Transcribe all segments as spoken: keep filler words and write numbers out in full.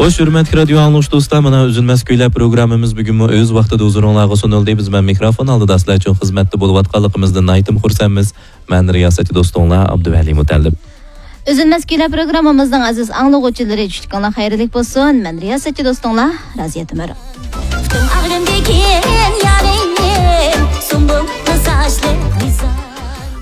خوش، ھۆرمەتلىك رادىيو ئاڭلىغۇچى دوستلار، مانا ئۈزۈلمەس كۈيلەر پروگراممىمىز بۈگۈنمۇ ئۆز ۋاقتىدا ھۇزۇرۇڭلارغا سۇنۇلدى. بىز مەن مىكروفون ئالدىدا سىلەر ئۈچۈن خىزمەتتە بولۇۋاتقانلىقىمىزدىن ناھايىتىمۇ خۇرسەنمىز. مەن رىياسەتچى دوستۇڭلار ئابدۇۋەلى مۇتەللىپ. ئۈزۈلمەس كۈيلەر پروگراممىمىزنىڭ ئەزىز ئاڭلىغۇچىلىرى، چۈشلۈكۈڭلار خەيرلىك بولسۇن. مەن رىياسەتچى دوستۇڭلار رازىيە تۆمۈر.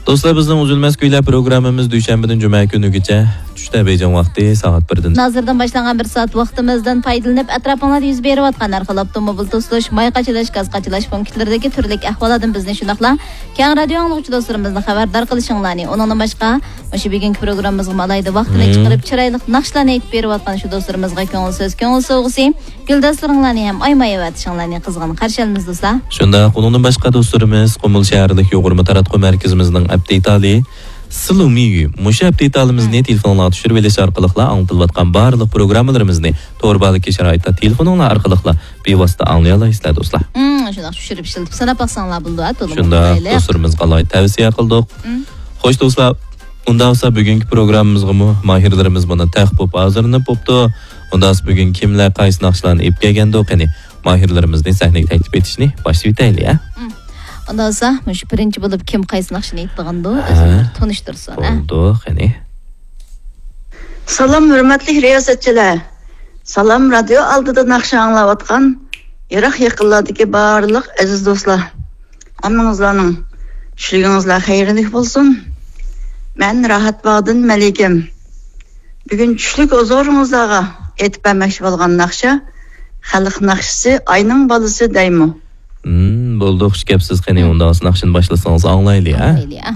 دوستلار، بىزنىڭ ئۈزۈلمەس كۈيلەر پروگراممىمىز دۈشەنبىدىن جۈمە كۈنىگىچە چۈشتە بېيجىڭ ۋاقتى سائەت بىردىن. ھازىردىن باشلانغان بىر سائەت ۋاقتىمىزدىن پايدىلىنىپ، ئەتراپىڭلاردا يۈز بېرىۋاتقان ھەر خىل ئاپتوموبىل توسۇلۇش، ماي قاچىلاش، گاز قاچىلاش پونكىتلىرىدىكى تۈرلۈك ئەھۋالاتتىن بىزنى، شۇنداقلا كەڭ رادىيو ئاڭلىغۇچى دوستلىرىمىزنى خەۋەردار قىلىشىڭلارنى، ئۇنىڭدىن باشقا، مۇشۇ بۈگۈنكى پروگراممىمىزغا ئالاھىدە ۋاقتىنى مم. چىقىرىپ، چىرايلىق ناخشىلارنى ئېيتىپ بېرىۋاتقان شۇ دوستلىرىمىزغا كۆڭۈل سۆز، كۆڭۈل سوۋغىسى، گۈلدەستىلىرىڭلارنى ھەم ئايىماي ئەۋەتىشىڭلارنى قىزغىن قارشى ئالىمىز، دوستلار. شۇنداق، ئۇنىڭدىن باشقا دوستلىرىمىز قۇمۇل شەھەرلىك يۇغۇرما تاراتقۇ مەركىزىمىزنىڭ ئەپ دېتالى سىلۇمىيۈ. مۇشۇ ئەپ دېتالىمىزنى مم. تېلېفونۇڭلارغا چۈشۈرۈۋېلىش ئارقىلىقلا ئاڭلىتىلىۋاتقان بارلىق پروگراممىلىرىمىزنى تور بارلىكى شارائىتتا تېلېفونۇڭلار ئارقىلىقلا بىۋاسىتە ئاڭلىيالايسىلەر، دوستلار. مم، شۇنداق چۈشۈرۈپ ئىشلىتىپ سىناپ باقساڭلار بولىدۇ، ھە، تولىمۇ شۇنداق، قولايلىق. دوستلىرىمىزغا ئالاھىدە تەۋسىيە قىلدۇق. مم. خوش، دوستلار، ئۇنداق بولسا بۈگۈنكى پروگراممىمىزغىمۇ ماھىرلىرىمىز مانا تەق بولۇپ ھازىرلىنىپ بوپتۇ. ئۇنداق بولسا بۈگۈن كىملەر قايسى ناخشىلارنى ئېلىپ كەلگەندۇ؟ قېنى، ماھىرلىرىمىزنى سەھنىگە تەكلىپ ئېتىشنى باشلىۋېتەيلى، ھە؟ مم. ئۇنداق بولسا، مۇشۇ بىرىنچى بولۇپ كىم قايسى ناخشىنى ئېيتىدىغاندۇ؟ ھە. ئۆزىنى بىر تونۇشتۇرسۇن، ھە؟ بولدى، قېنى. سالام، ھۆرمەتلىك رىياسەتچىلەر. سالام، رادىيو ئالدىدا ناخشا ئاڭلاۋاتقان يىراق يېقىنلاردىكى بارلىق ئەزىز دوستلار. ھەممىڭىزلارنىڭ چۈشلۈكىڭىزلەر خەيرلىك بولسۇن. مەن راھەت باغدىن مەلىكەم. بۈگۈن چۈشلۈك ھۇزۇرىڭىزلارغا ئېيتىپ بەرمەكچى بولغان ناخشا خەلق ناخشىسى ئاينىڭ بالىسى دەيمۇ. مم، بولدى، خۇش گەپسىز. قېنى، مم. ئۇنداق بولسا ناخشىنى باشلىسىڭىز ئاڭلايلى، ھە؟ ئاڭلايلى، ھە.